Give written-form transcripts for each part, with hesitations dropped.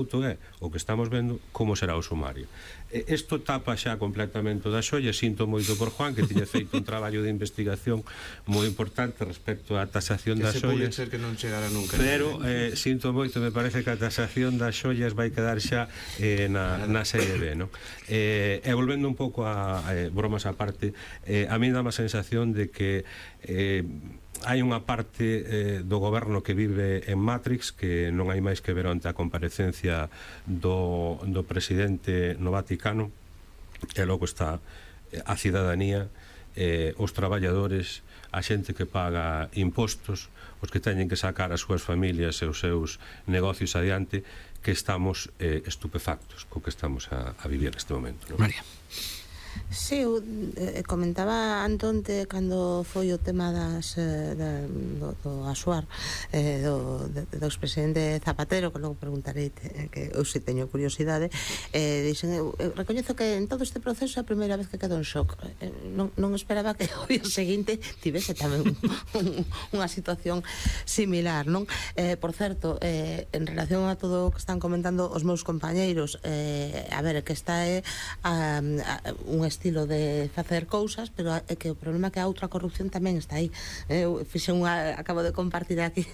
é o que estamos vendo como será o sumario. Isto tapa xa completamente das xollas. Sinto moito por Juan, que tiña feito un traballo de investigación moi importante respecto á tasación das xollas, que non chegará nunca, pero sinto moito, me parece que a tasación das xollas vai quedar xa na serie B, non? E volvendo un pouco a bromas á parte, a mí dá má sensación de que hai unha parte do goberno que vive en Matrix, que non hai máis que ver ante a comparecencia do presidente no Vaticano, e logo está a cidadanía, os traballadores, a xente que paga impostos, os que teñen que sacar as súas familias e os seus negocios adiante, que estamos estupefactos co que estamos a vivir neste momento, non? María. Sí, eu comentaba antonte cando foi o tema do Asuar, do expresidente Zapatero, que logo preguntarei, que eu si teño curiosidade. Dixen, eu recoñezo que en todo este proceso é a primeira vez que quedo en shock. Non esperaba que o día seguinte tivese tamén unha situación similar, non? Por certo, en relación a todo o que están comentando os meus compañeiros, a ver, que está un estilo de facer cousas, pero é que o problema é que a outra corrupción tamén está aí. Eu acabo de compartir aquí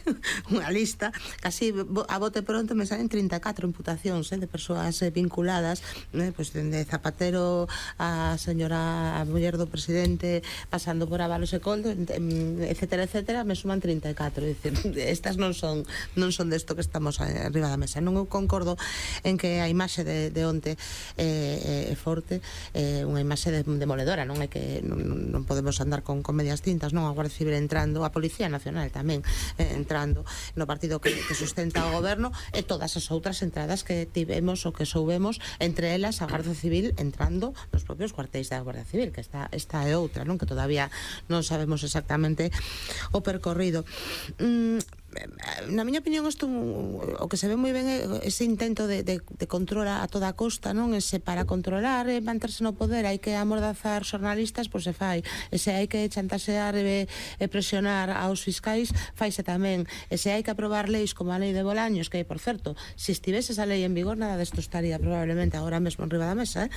unha lista, casi a bote pronto me salen 34 imputacións de persoas vinculadas, pois dende Zapatero a señora, a muller do presidente, pasando por Ábalos e Coldo, etcétera, etcétera, me suman 34. Dicir, estas non son desto que estamos arriba da mesa. Non eu concordo en que a imaxe de onte é forte, unha imaxe demoledora, non é que non podemos andar con medias tintas, non? A Guardia Civil entrando, a Policía Nacional tamén entrando no partido que sustenta o goberno, e todas as outras entradas que tivemos ou que soubemos, entre elas a Guardia Civil entrando nos propios cuartéis da Guardia Civil, que esta é outra, non? Que todavía non sabemos exactamente o percorrido. Na miña opinión, isto o que se ve moi ben é ese intento de control a toda costa, non? Ese para controlar e manterse no poder hai que amordazar xornalistas, pois se fai. E se hai que chantaxear e presionar aos fiscais, faise tamén. E se hai que aprobar leis como a lei de Bolaños, que, por certo, se estivese esa lei en vigor, nada desto estaría probablemente agora mesmo en riba da mesa,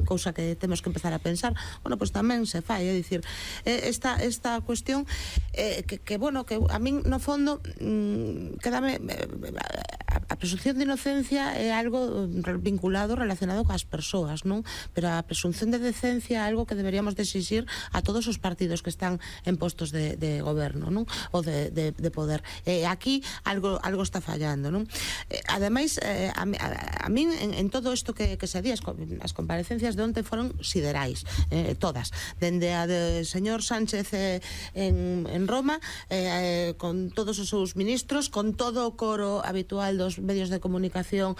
cousa que temos que empezar a pensar. Bueno, pois tamén se fai, é dicir, esta cuestión que bueno, que a min no fondo quédame a presunción de inocencia é algo vinculado, relacionado coas persoas, non? Pero a presunción de decencia é algo que deberíamos de exixir a todos os partidos que están en postos de goberno, non? Ou de poder. Aquí algo está fallando, non? Ademais, a min en todo isto que se di, as comparecencias de onte foron siderais, todas, dende a de señor Sánchez en Roma, con todos os seus ministros, con todo o coro habitual dos medios de comunicación,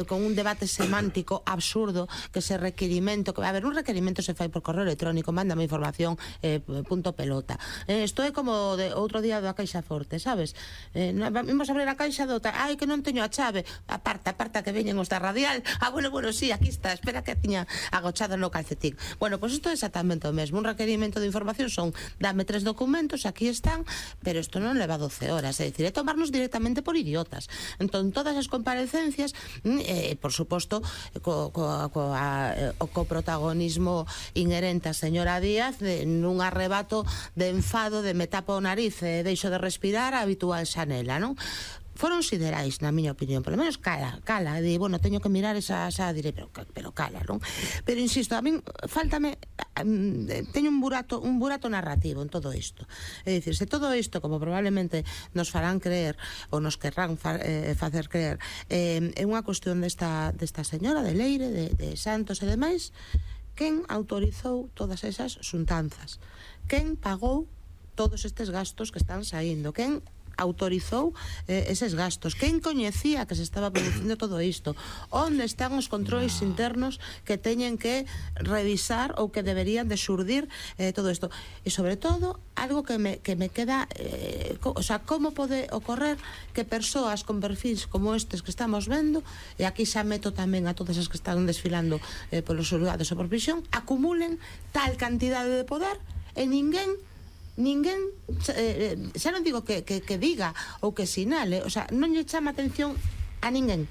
con un debate semántico absurdo, que ese requerimento, que a ver, un requerimento se fai por correo electrónico, mándame información, punto pelota. Isto é como outro día da Caixa Forte, sabes? Vimos abrir a caixa do ai, que non teño a chave, aparta que veñen os da Radial, bueno, sí, aquí está, espera que tiña agochado no calcetín. Bueno, pois isto é exactamente o mesmo, un requerimento de información son, dame 3 documentos, aquí están, pero isto non leva 12 horas, é dicir, é tomarnos directamente por idiotas. Entón, todas as comparecencias, por suposto, co protagonismo inherente a señora Díaz, nun arrebato de enfado, de me tapo o nariz e deixo de respirar, a habitual xanela, non? Foron siderais, na miña opinión, polo menos cala, de, bueno, teño que mirar esa direi, pero cala, non? Pero insisto, a min faltame, teño un burato narrativo en todo isto. É dicir, se todo isto, como probablemente nos farán creer, ou nos querrán facer creer, é unha cuestión desta señora de Leire, de Santos e demais, quen autorizou todas esas xuntanzas? Quen pagou todos estes gastos que están saindo? Quen autorizou eses gastos? Quen coñecía que se estaba producindo todo isto? Onde están os controles internos que teñen que revisar ou que deberían de xurdir todo isto? E sobre todo, algo que me queda, o sea, como pode ocorrer que persoas con perfis como estes que estamos vendo, e aquí xa meto tamén a todas as que están desfilando polos xulgados ou por prisión, acumulen tal cantidade de poder e ninguén, xa non digo que diga ou que sinale, o sea, non lle chama atención A ninguén.